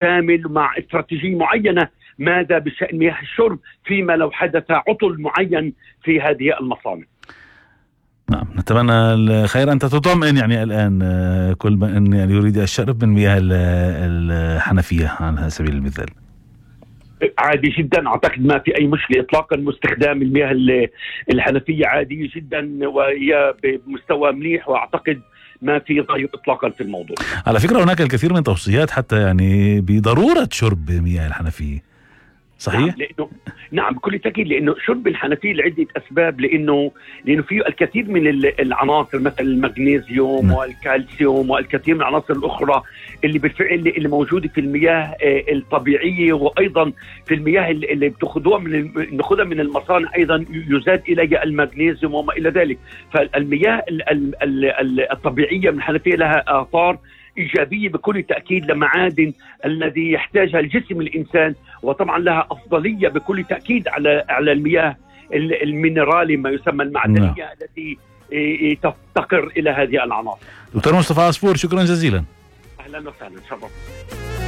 كامل مع استراتيجية معينة ماذا بشأن مياه الشرب فيما لو حدث عطل معين في هذه المصانع. نعم، نتمنى الخير. أنت تطمئن يعني الآن كل من يعني يريد الشرب من مياه الحنفية على سبيل المثال؟ عادي جدا، أعتقد ما في أي مشكلة إطلاقا، واستخدام المياه الحنفية عادية جدا وهي بمستوى مليح، وأعتقد ما في ضيق إطلاقا في الموضوع. على فكرة هناك الكثير من توصيات حتى يعني بضرورة شرب مياه الحنفية، صحيح؟ نعم بكل تأكيد، لأنه شرب الحنفية لعدة أسباب، لأنه فيه الكثير من العناصر مثل المغنيسيوم والكالسيوم والكثير من العناصر الأخرى اللي بالفعل اللي موجودة في المياه الطبيعية، وأيضا في المياه اللي بتاخذوها من المصانع أيضا يزاد إليها المغنيسيوم وما إلى ذلك. فالمياه الطبيعية من الحنفية لها آثار إيجابية بكل تأكيد لمعادن الذي يحتاجها الجسم الإنسان، وطبعا لها أفضلية بكل تأكيد على المياه المينرالي ما يسمى المعدنية التي تفتقر إلى هذه العناصر. دكتور مصطفى عصفور، شكرا جزيلا. أهلا وسهلا، شرف.